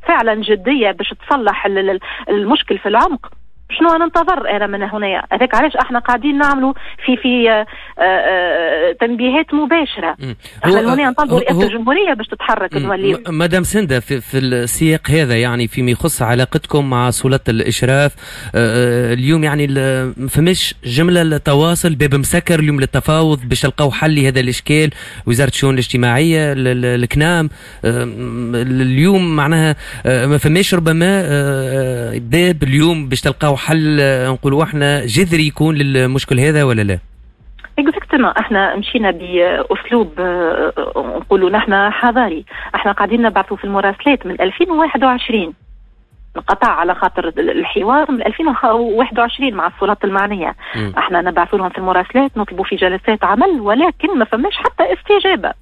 فعلا جدية باش تصلح المشكل في العمق، شنو ننتظر انا من هنا؟ هذاك علاش احنا قاعدين نعملوا في تنبيهات مباشره. احنا هنا نطالبوا رئاسة الجمهورية باش تتحرك. نولي مدام سنده، في السياق هذا، يعني فيما يخص علاقتكم مع سلطة الاشراف اليوم، يعني ما فماش جملة التواصل، باب مسكر اليوم للتفاوض باش تلقاو حل لهذا الاشكال؟ وزارة الشؤون الاجتماعيه، الكنام، اليوم معناها ما فماش ربما باب اليوم باش تلقاو حل نقولوا احنا جذري يكون للمشكل هذا ولا لا؟ exactement، احنا مشينا باسلوب نقولوا نحن حضاري. احنا قاعدين نبعثوا في المراسلات من 2021، انقطع على خاطر الحوار من 2021 مع السلطات المعنيه. احنا نبعث لهم في المراسلات، نطلبوا في جلسات عمل، ولكن ما فماش حتى استجابه.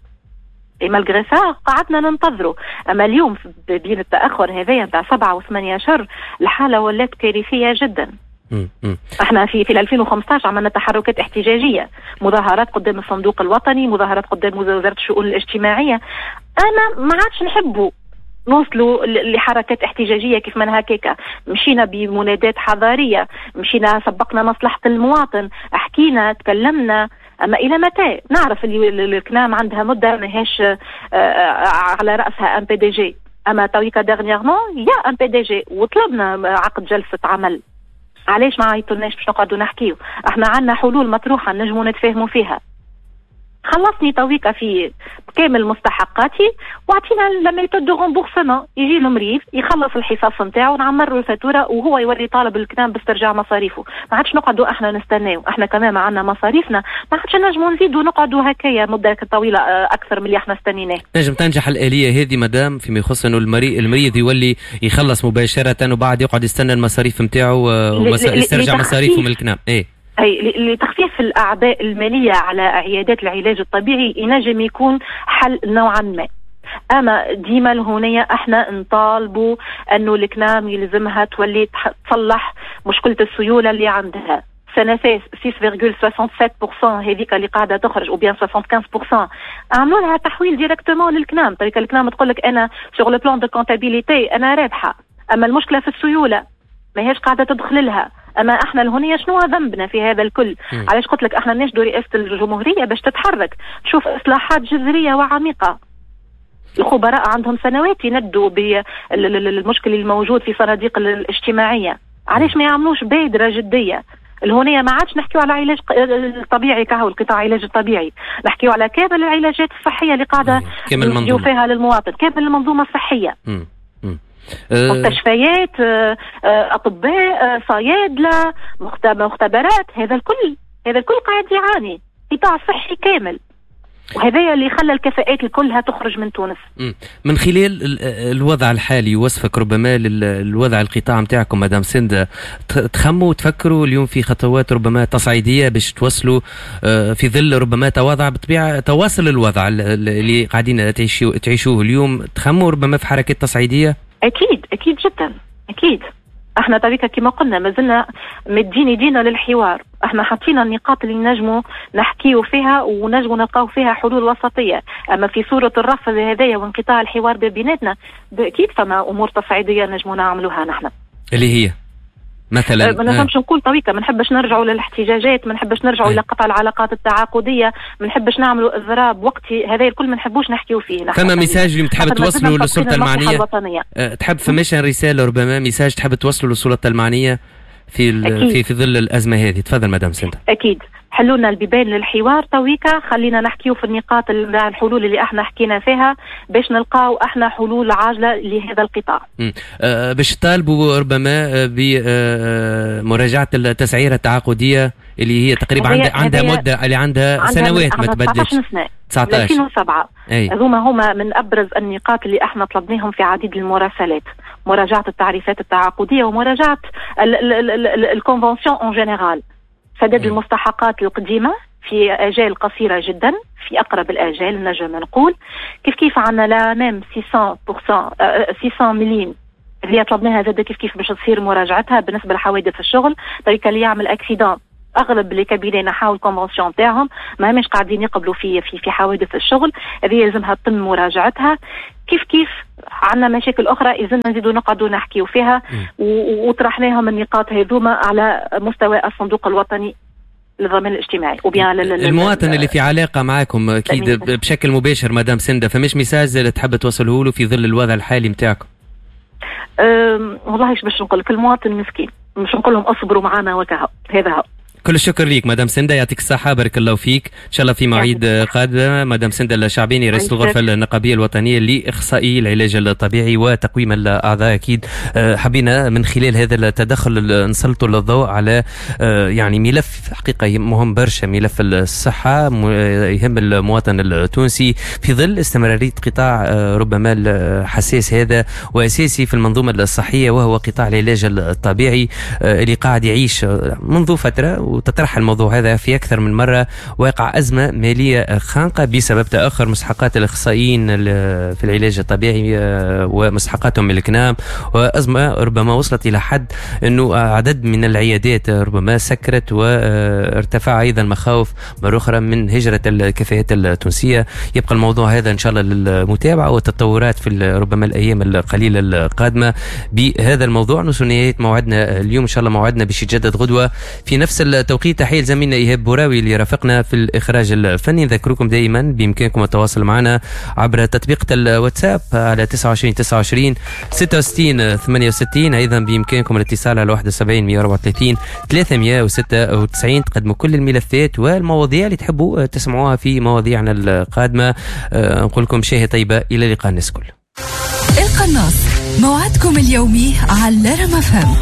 et malgré ça قعدنا ننتظروا. اما اليوم بين التاخر هذايا نتاع 7 و8 اشهر، الحالة ولات كارثية جدا. احنا في 2015 عملنا تحركات احتجاجيه، مظاهرات قدام الصندوق الوطني، مظاهرات قدام وزارة الشؤون الاجتماعيه. انا ما عادش نحبوا نوصلوا لحركات احتجاجية كيف من هكاكا. مشينا بمنادات حضاريه، مشينا سبقنا مصلحة المواطن، حكينا، تكلمنا، اما الى متى؟ نعرف اللي الكنام عندها مده ماهيش على راسها un PDG، اما تويكا dernièrement il y a un PDG وطلبنا عقد جلسه عمل. علاش ما عيطولناش باش نقعدوا نحكيو؟ احنا عندنا حلول مطروحة نجموا نتفاهموا فيها. خلصني تويكا في كامل مستحقاتي واعطينا la méthode de remboursement. يجي المريض يخلص الحصص نتاعو، نعمر له الفاتورة وهو يولي طالب الكنام باسترجاع مصاريفه. ما عادش نقعدوا احنا نستناو. احنا كمان عندنا مصاريفنا، ما عادش نجموا نزيدوا نقعدوا هكايا مده طويلة اكثر من اللي احنا استنيناه. نجم تنجح الالية هذه مدام، فيما يخص انه المريض يولي يخلص مباشرة وبعد يقعد يستنى المصاريف نتاعو ويسترجع مصاريفه من الكنام؟ ايه. أي، لتخفيف الأعباء المالية على عيادات العلاج الطبيعي ينجم يكون حل نوعا ما. اما ديما لهونية احنا نطالبوا انه الكنام يلزمها تولي تصلح مشكلة السيولة اللي عندها. CNSS 6.67% هذيك اللي قاعدة تخرج ou bien 75%، عملوا لها تحويل directement للكنام. طريقه الكنام تقول لك انا sur le plan de comptabilité انا رابحه، اما المشكلة في السيوله، ما هيش قاعدة تدخل لها. اما احنا الهونيه شنو ذنبنا في هذا الكل؟ علاش قلت لك احنا نناشدوا رئاسة الجمهورية باش تتحرك، تشوف اصلاحات جذرية وعميقه. الخبراء عندهم سنوات يندوا بالمشكل الموجود في صناديق الاجتماعيه. علاش ما يعملوش بادره جدية الهونية؟ ما عادش نحكيو على علاج الطبيعي كهو، القطاع العلاج الطبيعي، نحكيو على كامل العلاجات الصحية اللي قاعدة كامل فيها للمواطن، كامل المنظومة الصحيه، مستشفيات، اطباء، صيادله، مختبرات، هذا الكل، هذا الكل قاعد يعاني، قطاع صحي كامل، وهذا اللي خلى الكفاءات كلها تخرج من تونس. من خلال الوضع الحالي، وصفك ربما للوضع القطاع نتاعكم مدام سند، تخموا تفكروا اليوم في خطوات ربما تصعيديه باش توصلوا في ظل ربما تواضع بطبيعة تواصل الوضع اللي قاعدين تعيشوه اليوم، تخموا ربما في حركات تصعيديه؟ اكيد، اكيد جدا، اكيد. احنا طريقة كما قلنا ما زلنا مدين يدينا للحوار. احنا حطينا النقاط اللي نجموا نحكيو فيها ونجموا نلقاو فيها حلول وسطيه. اما في صوره الرفض هذايا وانقطاع الحوار بيناتنا، اكيد فما امور تصعيديه نجموا نعملوها نحن. اللي هي مثلا؟ ما نجمش نقول طريقه. ما نحبش نرجعوا للاحتجاجات، ما نحبش نرجعوا الى قطع العلاقات التعاقديه، ما نحبش نعملوا اضراب وقتي. هذا الكل ما نحبوش نحكيو فيه. فما message اللي تحب توصلوا للسلطة المعنيه؟ تحب فماش رسالة ربما، message تحب توصلوا للسلطة المعنية في ظل الازمة هذه؟ تفضل مدام سنتا. اكيد، حلونا البيبان للحوار تويكا، خلينا نحكيو في النقاط، الحلول اللي احنا حكينا فيها، باش نلقاو احنا حلول عاجله لهذا القطاع. باش تطالبوا ربما بمراجعه التسعيره التعاقديه اللي هي تقريبا عندها مده، اللي عندها سنوات ما تبدلش. 19 سنه. 19. 2007. هذوما هما من ابرز النقاط اللي احنا طلبناهم في عديد المراسلات: مراجعه التعريفات التعاقديه ومراجعة ال convention en général، سداد المستحقات القديمة في اجال قصيرة جدا، في اقرب الاجال نجم نقول. كيف كيف عندنا l'AMM 600 600 مليم اللي طلبناها زاد كيف كيف باش تصير مراجعتها بالنسبة لحوادث الشغل. طريقه اللي يعمل accident، اغلب les cabinets نحاو ال convention تاعهم، ما همش قاعدين يقبلوا في حوادث الشغل. هذه لازمها تتم مراجعتها. كيف كيف عندنا مشاكل اخرى يلزمنا نزيدوا نقعدوا نحكيو فيها، وطرحناهم النقاط هذوما على مستوى الصندوق الوطني للضمان الاجتماعي. المواطن اللي في علاقة معكم اكيد بشكل مباشر مدام سنده، فماش message اللي تحب توصله له في ظل الوضع الحالي نتاعكم؟ والله ايش باش نقول لك، المواطن مسكين، مش نقول لهم اصبروا معنا وكهو، هذا هو. كل الشكر ليك مدام سنده، يعطيك الصحة، بارك الله فيك، إن شاء الله في مواعيد قادمة. مدام سنده الشعبيني رئيس الغرفة النقابية الوطنية لإخصائي العلاج الطبيعي وتقويم الأعضاء. أكيد حبينا من خلال هذا التدخل نسلطوا الضوء على يعني ملف حقيقة مهم برشا، ملف الصحة يهم المواطن التونسي في ظل استمرارية قطاع ربما الحساس هذا وأساسي في المنظومة الصحية، وهو قطاع العلاج الطبيعي اللي قاعد يعيش منذ فترة، وتطرح الموضوع هذا في أكثر من مرة، واقع أزمة مالية خانقة بسبب تأخر مستحقات الأخصائيين في العلاج الطبيعي ومستحقاتهم من الكنام، وأزمة ربما وصلت إلى حد أنه عدد من العيادات ربما سكرت، وارتفع أيضا مخاوف مرة أخرى من هجرة الكفاءات التونسية. يبقى الموضوع هذا إن شاء الله للمتابعة والتطورات في ربما الأيام القليلة القادمة بهذا الموضوع. نوصل نهاية موعدنا اليوم، إن شاء الله موعدنا باش يتجدد غدوة في نفس التوقيت. تحية لزميلنا إيهاب بوراوي اللي رافقنا في الإخراج الفني. نذكركم دائما بإمكانكم التواصل معنا عبر تطبيق الواتساب على 29 29 66 68. أيضا بإمكانكم الاتصال على 71 134 396. تقدموا كل الملفات والمواضيع اللي تحبوا تسمعوها في مواضيعنا القادمة. نقول لكم شهية طيبة، إلى اللقاء الناس الكل. القناص موعدكم اليومي على رام أف أم.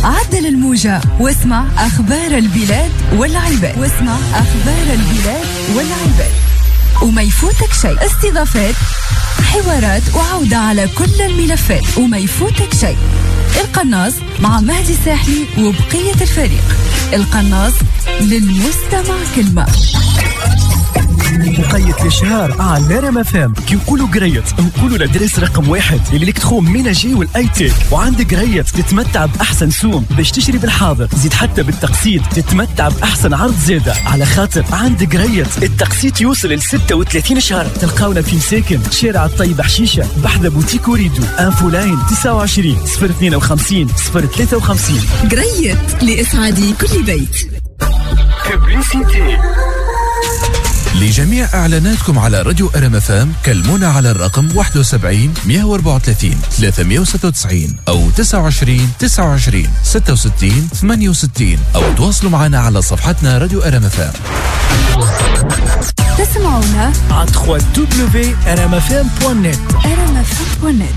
عدل الموجة واسمع أخبار البلاد والعباد، واسمع أخبار البلاد والعباد، وما يفوتك شيء. استضافات، حوارات، وعودة على كل الملفات، وما يفوتك شيء. القناص مع مهدي الساحلي وبقية الفريق. القناص للمستمع كلمة. وقيت الاشهار على رام أف أم. كي نقولوا قريت نقولوا l'adresse رقم 1 l'électroménager وال high-tech، وعند قريت تتمتع باحسن سوم باش تشري بالحاضر، زيد حتى بالتقسيط تتمتع باحسن عرض زاده، على خاطر عند قريت التقسيط يوصل ل 36 شهر. تلقاونا في مساكن شارع الطيب حشيشه بحذا بوتيك وريدو. infoline 29 052 053. قريت لاسعاد كل بيت. لجميع إعلاناتكم على راديو أرم أف أم كلمونا على الرقم 71 134 396 أو 29 29 66 68، أو تواصلوا معنا على صفحتنا راديو أرم أف أم. تسمعونا على 3w rmfm.net. rmfm.net.